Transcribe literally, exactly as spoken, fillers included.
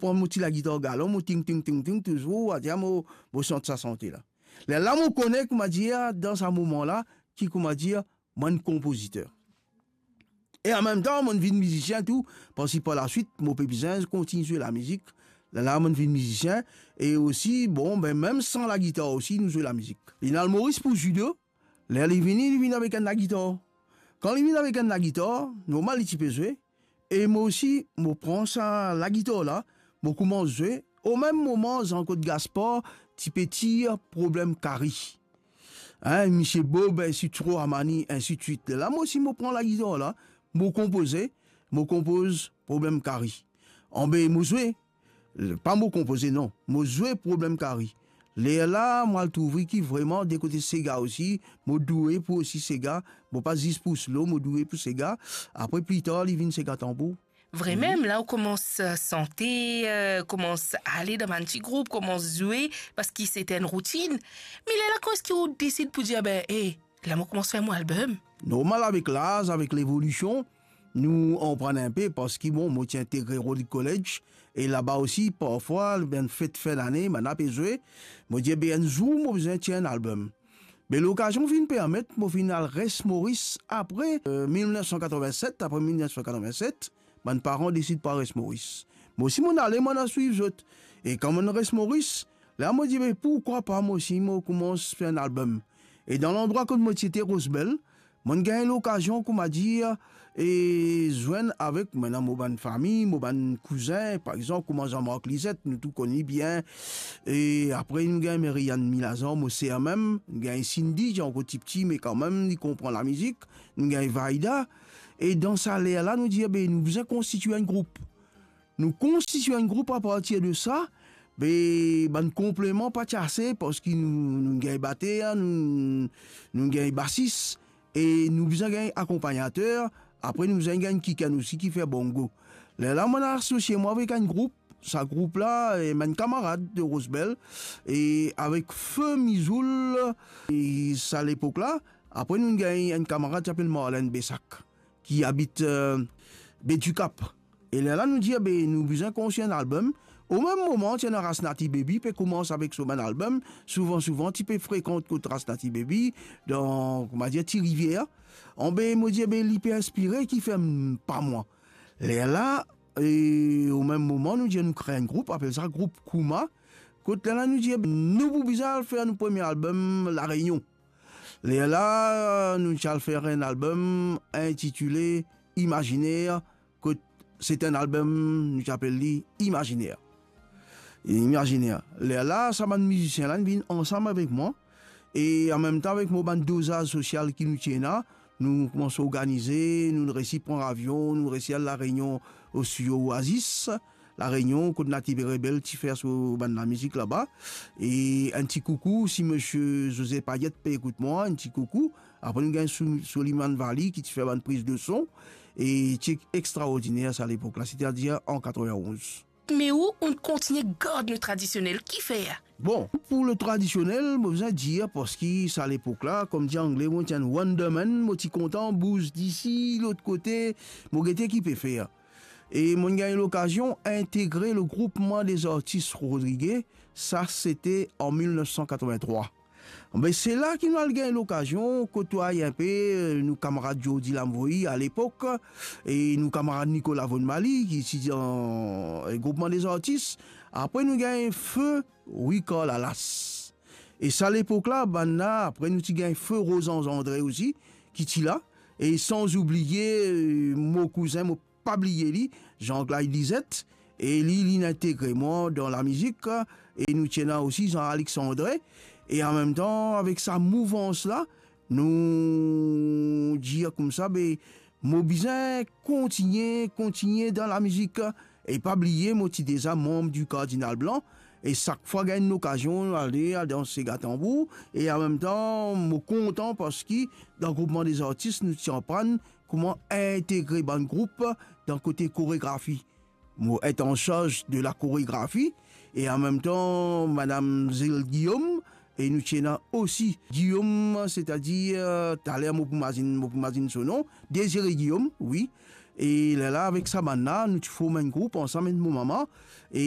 pran mo ti lagitar galon, mo ting, ting, ting, ting, touzour, adir mo, mo sant sa sante la. Lerla mo kone, koumadir, dan sa moman la, ki, koumadir, mo enn konpoziter. E anmemtan, mo vinn mizisien tou, parski par laswit, mo pe bizin kontign zwe lamizik. Lerla mo vinn mizisien, e osi, bon, be, mem san lagitar osi, nou zwe lamizik. Li al Moris pou zid, ler li vini, li vinn avek enn lagitar. Kan li vinn avek enn lagitar, normal li ti pe zwe, e mo osi, mo pran sa lagitar la, mo koumans zwe. O mem moman, Jean-Claude Gaspard ti pe tir Problem Kari. Hein, Misie Bob, ensi tro Amani, ensi de swit. Lerla mo osi mo pran lagitar la, mo konpoze, mo konpoz Problem Kari. Anbe mo zwe, pa mo konpoze non, mo zwe Problem Kari. Lerla mo al trouve ki vreman de kote sega osi, mo doue pou osi sega, mo pa zis pou slo, mo doue pou sega. Apre pli tar li vinn sega tanbour. Vremem, la ou koumans, eh, sante, eh, koumans ale dan bann ti group, koumans zwe, parski se ti enn routinn. Me lerla kouma eski ou desid pou dir, be, e, la mo koumans fer mo album? Normal, avek laz, avek levolision, nou aprann inpe, parski, bon, mo ti integre Rhodes College, e laba osi, parfwa, bann fet fin lane, bann la pe zwe, mo dir, be, enn zour, mo bizin tir enn album. Be lokazion finn permet mo finn al res Moris apre, eh, mil nef san katrovin-set, apre mil nef san katrovin-set, bann paran desid pou al res Moris. Mo osi mo ale, mo al swiv zot. E kan mo res Moris, la mo dir, be, pourkwa pa mo osi, mo koumans fer enn album. E dan landrwa kot mo ti ete, Rosebel, mo gagn lokazion, koumadir, e zwenn avek, mo ena mo bann fami, mo bann kouzin, par exanp, kouma Jean-Marc Lizet, nou tou konn li bien. E apre, nou gagn Merianne Milazan, mo ser mem, nou gagn Cindy, ti ankor tipti, me kanmem, li konpran lamizik, nou gagn Vaida. E dan sa ler la, nou dir, be, nou bizin konstitwe enn group. Nou konstitwe enn group, apartir de sa, be, bann konpleman pa ti ase, parski nou, nou gagn bater, nou, nou gagn basis, e nou bizin gagn akonpagnater, apre nou bizin gagn kikenn osi ki fer bongo. Lerla mo asosie mwa avek enn group, sa group la, e, bann kamarad de Rosebel, e avek Fe Mizoul, e sa lepok la, apre nou gagn enn kamarad ki apel Marlène Bessac, ki abit, eh, Baie du Cap. E lerla nou dir, be, nou bizin konstwi enn album. O mem moman, ti ena Rasnati Baby, pe koumans avek so bann album. Souvan, souvan, ti pe frekant kot Rasnati Baby, dan, koumadir, Ti Rivier. Anbe, mo dir, be, li pe inspire, kifer pa mwa. Lerla, e, o mem moman, nou dir, nou kre enn group, apel sa group Kouma. Kot lerla, nou dir, be, nou pou bizin al fer nou premie album La Reunion. Lerla, nou ti al fer enn album intitile Imaginer, kot se ti enn album, nou ti apel li Imaginer. Imaginer. Lerla, sa bann mizisien la, inn vinn ansam avek mwa, e anmemtan avek mo bann dozaz sosial ki nou ti ena, nou koumans organize, nou resi pran avion, nou resi al La Reunion, o studio Oasis. La Reunion, kot Naty Rebel ti fer so bann lamizik laba. E enn ti koukou si misie José Payet pe ekout mwa, enn ti koukou. Apre nou gagn Sou-, Soliman Vali ki ti fer bann priz de son. E ti extraordiner sa lepok la, setadir an katrovin-onz. Me ou, ou kontigne gard nou tradisionel, kifer? Bon, pou le tradisionel, mo bizin dir, parski sa lepok la, kouma dir Angle, mo ti enn wonderman, mo ti kontan bouz disi, lot kote, mo gete ki pe fer. E mo gagn lokazion integre le Groupement des Artistes Rodriguais, sa se ti an mil nef san katrovin-trwa. Be, se la ki nou al gagn lokazion kotway inpe, eh, nou kamarad Jordi Lamvoyi alepok, e nou kamarad Nicolas Vonmaly, ki ti dan, eh, Groupement des Artistes. Apre nou gagn Fe Ricard Lalace. E sa lepok la, bann la, apre nou ti gagn Fe Rosange André osi, ki ti la. E san oubliye, eh, mo kouzin, mo pa bliye li, Jean-Claude Lizet, e li, li integre mwa dan lamizik, e nou ti ena osi Jean Alexandre, e anmemtan, avek sa mouvans la, nou dir koumsa, be, mo bizin kontigne, kontigne dan lamizik, e pa bliye, mo ti deza manb di Kardinal Blan, e sak fwa gagn enn lokazion, ale, al dans sega tanbour, e anmemtan, mo kontan parski dan Groupement des Artistes, nou ti aprann kouma integre bann group dan kote koregrafi. Mo et an sarz de la koregrafi, e anmemtan, madam Zil Guillaume, e nou ti ena osi Guillaume, setadir, taler mo pou mazinn, mo pou mazinn so nom, Désiré Guillaume, wi. E lerla avek sa bann la, nou ti form enn group ansam ek mo mama. E